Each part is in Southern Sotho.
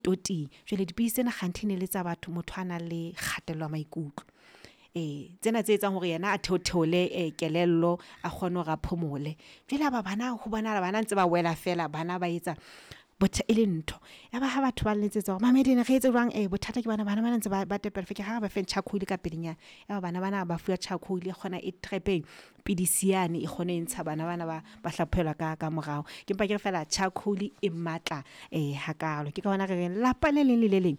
Toting. Jwale dipidisi tsena kganthe ne le tsa batho, motho a nang le kgatello ya maikutlo. Tsena tse etsang hore yena a theotheole kelello, a kgone hore a phomole. Jwale ya ba bana, ho bonahala bana ntse ba wela feela, bana ba etsa e le ntho. Ya ba ha batho ba nletsetsa hore Mamedi re etse jwang bothata ke bona bana bana ntse ba tepella. Ke re ha re ba feng charcoal ka pelenyana. Ya ba bana bana ba fuwa charcoal e kgona e trap-e pidisi yane, e kgone e ntsha bana bana ba hlaphohelwa ka morao. Ke mpa ke re feela charcoal e matla hakalo. Ke ka hona re reng lelapa le leng le le leng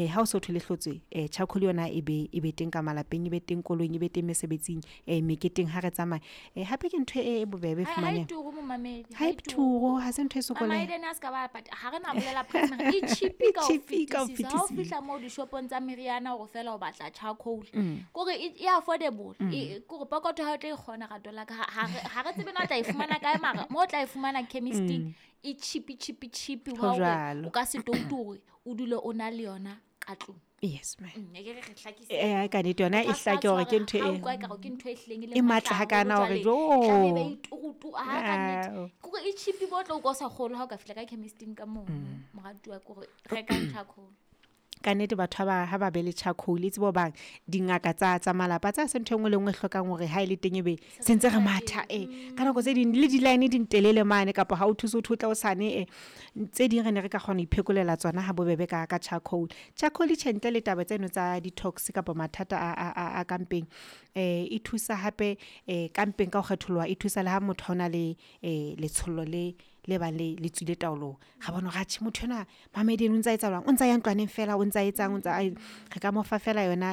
ha o so thwe le hlotswe, charcoal yona e be teng ka malapeng, e be teng koloing, e be teng mesebetsing, meketeng ha re tsamaya. Hape ke ntho e bobebe e Ha e fumanehang. turu momamedi, Ha e turu, ha se ntho e sokoleha. Mama Eden a ska ba pata, ha re na bolela price mara e cheap ka ho E cheap ka ho fetisisa. Ha o fetisisa. fihla moo dishopong tsa meriana hore feela o batla charcoal. Kore e affordable. Kore pokotho ha o tla e kgona rato la ka. Ha re tsebe na o tla e fumana kae, mara mo o tla e fumana chemisting e cheap, cheap, cheap Ho hwa hore jwalo. o ka se toutu hore o dule o na le yona ka tlung. Yes, ma'am. E ke re re hlakise. Ka nnete yona e Motho a ska hlake hore ke tshwara, ntho ha e utlwa ekare ke ntho e hlileng e le e matla matla hakana haholo hore jwale, jo. tlameha e be e turutu, ha ka nnete. Ao. Kore e cheap bo tlo utlwa o sa kgolwe ha o ka fihla ka chemisting ka mono, moratuwa, kore rekang charcoal. Ka nnete batho ha ba be le charcoal, e tsebe hobang dingaka tsa malapa tsa se ntho e nngwe le nngwe e hlokang hore ha e le teng ebe Se se ntse re re matha, teng. Ka nako tse ding le di-line di ntelele mane, kapa ha o thuse ho tla hosane, Tse ding re ne re ka kgona ho iphekolela tsona ha bobebe ka charcoal. Charcoal tjhe ntle le taba tseno tsa detox kapa mathata a ka mpeng, e thusa hape ka mpeng ka ho kgetholoha, e thusa le ha motho a ona le letshollo le bang le tswile taolong. Ra bona hore atjhe motho enwa Mamedi o ntsa etsa jwang, o ntsa ya ntlwaneng feela, o ntsa etsang, o ntsa re ka mo fa feela yona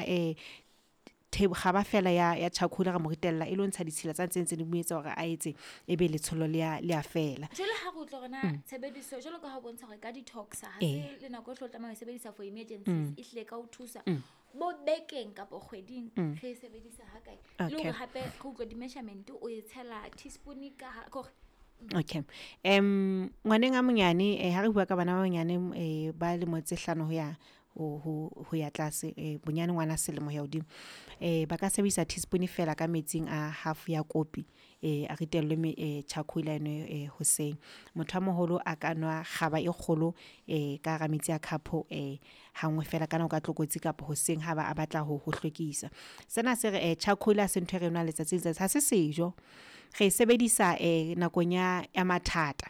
kgaba feela ya charcoal, ra mo ritella e lo ntsha ditshila tsa tse ntse di mo etsa hore a etse ebe letshollo le ya fela. Jwale ha re utlwa hore na tshebediso jwalo ka ha o bontsha hore ka detox ha se le nako e hle o tlameha ho e sebedisa for emergencies, e hlile ka ho thusa bo bekeng kapa kgweding re e sebedisa ha kae. Le hore hape re utlwe di-measurement o e tshela teaspoon ka ha, kore Okay. Ngwaneng a monyane, ha re bua ka bana ba banyane, ba lemo tse 5 ho ya ho ya tlase, bonyane ngwana selemo ho ya hodimo. Ba ka sebedisa teaspoon fela ka metsing a half ya kopi, a ritellwe charcoal a nwe hoseng. Motho a moholo a ka nwa kgaba e kgolo, ka hara metsi a cup, ha nngwe fela ka nako ya tlokotsi kapa hoseng ha ba a batla ho hlwekisa. Sena se re charcoal ha se ntho e re nwang letsatsi le letsatsi, ha se sejo. Re e sebedisa nakong ya mathata.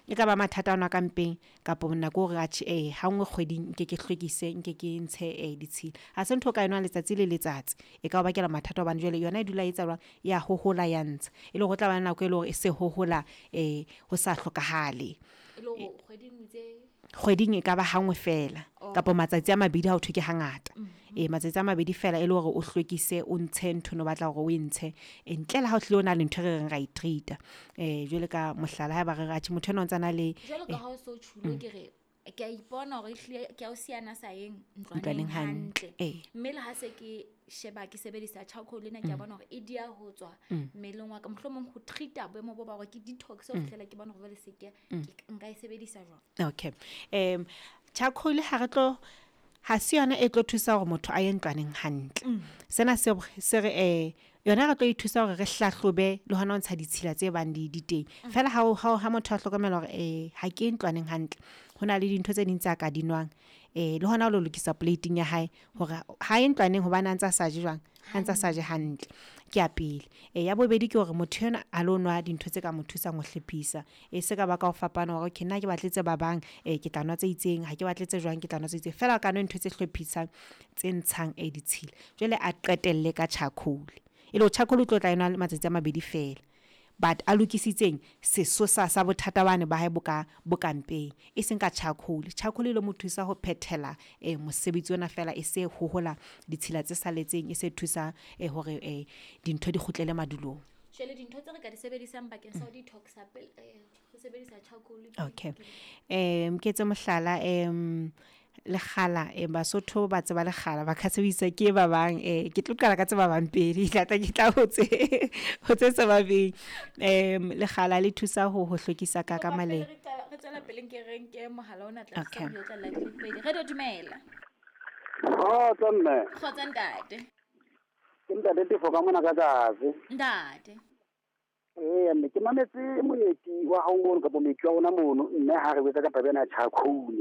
E ka ba mathata ana ka mpeng kapa nako hore atjhe ha nngwe kgweding nke ke hlwekise, nke ke ntshe ditshila. Ha se ntho o ka e nwang letsatsi le letsatsi, e ka o bakela mathata hobane jwale yona e dula e etsa jwang, ya hohola ya ntsha. E le hore o tla ba le nako e le hore e se hohola ho sa hlokahale. E le hore kgweding o itse Kgweding e ka ba ha nngwe fela kapa matsatsi a mabedi ha o thwe ke hangata. Matsatsi a mabedi fela e le hore o hlwekise, o ntshe ntho no batla hore o e ntshe. Ntle le ha o hlile o na le ntho e re reng ra e treat-a. Jwale ka mohlala haeba re re atjhe motho enwa o ntsa na le Jwalo ka ha o so tjhulo ke re ke a ipona hore ehlile ke a o siyana sa yeng ntlwaneng Ntlwaneng hantle. hantle. Mme le ha se ke sheba ke sebedisa charcoal ena, ke a bona hore e dia ho tswa mmeleng wa ka. Mohlomong ho treat-a boemo bo ba hore ke detox ho fihlela ke bona hore jwale se ke nka e sebedisa jwang. Okay. Charcoal ha re tlo, ha se yona e tlo thusa hore motho a ye ntlwaneng hantle. Sena se re yona re tlo e thusa hore re hlahlobe le hona ho ntsha ditshila tse bang di teng. Feela ha motho a hlokomela hore ha ke ntlwaneng hantle, ho na le dintho tse ding tse a ka di nwang. Le hona ho lo lokisa plate-ing ya hae hore ha ye ntlwaneng hobane a ntsa sa je jwang, a ntsa sa je hantle. Ke ya pele. Ya bobedi ke hore motho enwa a lo nwa dintho tse ka mo thusang ho hlephisa. Se ka ba ka ho fapana hore okay nna ke batle tse babang, ke tla nwa tse itseng, ha ke batle tse jwang ke tla nwa tse itseng. Feela ka nwe ntho tse hlophisang tse ntshang ditshila. Jwale a qetelle ka charcoal. E le hore charcoal o tlo tla enwa matsatsi a mabedi fela. But a lokisitseng sesosa sa bothata bane ba hae bo ka mpeng, e seng ka charcoal. Charcoal e lo mo thusa ho phethela mosebetsi ona fela, e se hohola ditshila tse saletseng, e se thusa hore dintho di kgutlele madulong. Jwale dintho tse re ka di sebedisang bakeng sa ho detox-a pele ho sebedisa charcoal ke Okay. ke Ke etse mohlala, lekgala, Basotho ba tseba lekgala, ba ka sebedisa ke ba bang, ke tlo qala ka tse ba bang pele, ke tla ke tla ho tse, ho tse sa ba beng. Lekgala le thusa ho hlwekisa ka Kopa pele maleng. re qala, re tswela pele nke re nke mohala ona tla Okay. re tla la pele. Re do dumela. Kgotso mme. Kgotso ntate. Ke ntate Tefo ka mona ka tlase. Ntate. Ee, mme ke mametse moeti wa hao mono kapa moeti wa rona mono, mme ha re botsa ka taba ena ya charcoal.